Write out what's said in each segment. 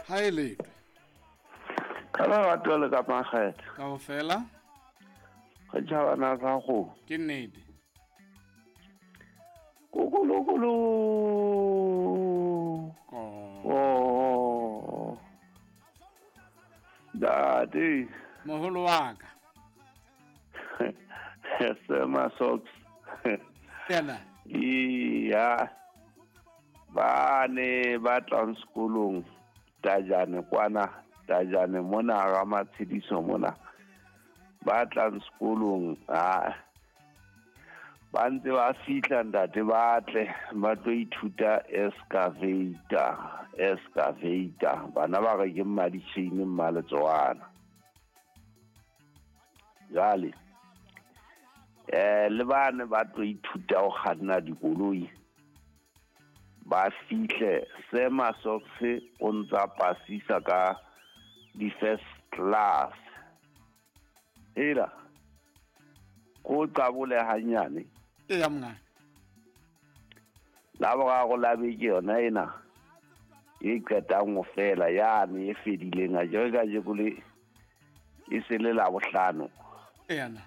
Ha e letwe. Ka lerato le ka makgethe. Kaofela. Re tjhabana sa go. Ke nnete. Kukulukulu. Oh. Dadi. Moholo wa ka. Sema socks. Yena. Iya. Ba ne ba tlang sekolong tajane kwana tajane mona ga matshediso mona ba tlang sekolong a ba ntse ba fihla ntate ba tle ba tlo ithuta excavator bana ba re ke mmaditšhini mmaletsoana jale le bane ba tlo ithuta go kganna dikoloi ba fihle sema socks o ntsa pasisa ka di first class ela ko qabole hanyane e ya mna la boraro la beke yona ena e qetang ho fela yane e fedileng a jere ka jeko le e se le la bohlano ena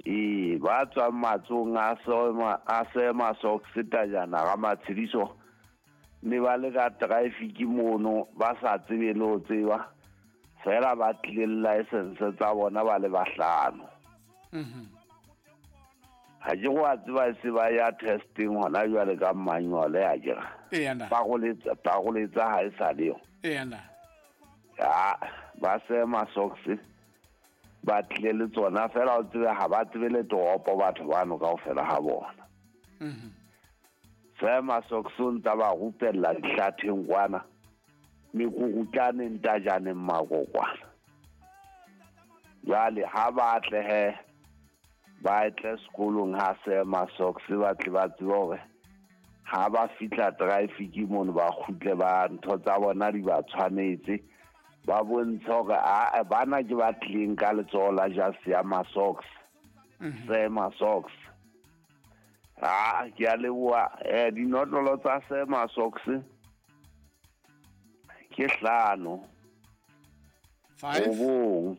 e ba tswang matsong a sema socks tajana ga matshediso ne ba le ka traffic mono ba sa tsebe le ho tseba fela ba tlile license tsa bona ba le bahlano. Ha ke go a tseba se ba ya testing hona jwale ka manual ya jera ba go letsa ha e sa le yo ena ya ba sema socks ba tlile le tsona fela o tsebe ha ba tsebe le toropo batho bano kaofela ha bona. Sema socks o ntsa ba rupella dihlatheng kwana mekukutlaneng tajaneng makokwana. Jwale ha ba tle he ba tle sekolong ha sema socks ba tle ba tsebe hore ha ba fihla traffic mono ba kgutle ba ntho tsa bona di ba tshwanetse ba bontshe hore a bana ke ba tlileng ka letsoho la jase ya ma-socks sema socks. A ke a leboha. Dinotlolo tsa sema socks ke 5 5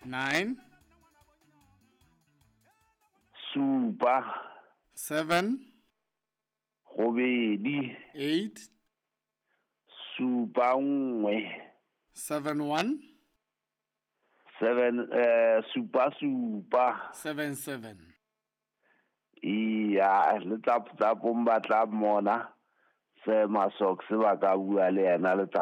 9 7 7 2 8 7 1 7 1 7 7 7 7 7. Iya le tsa tsapong ba tla mona sema socks ba ka bua le yena le tsa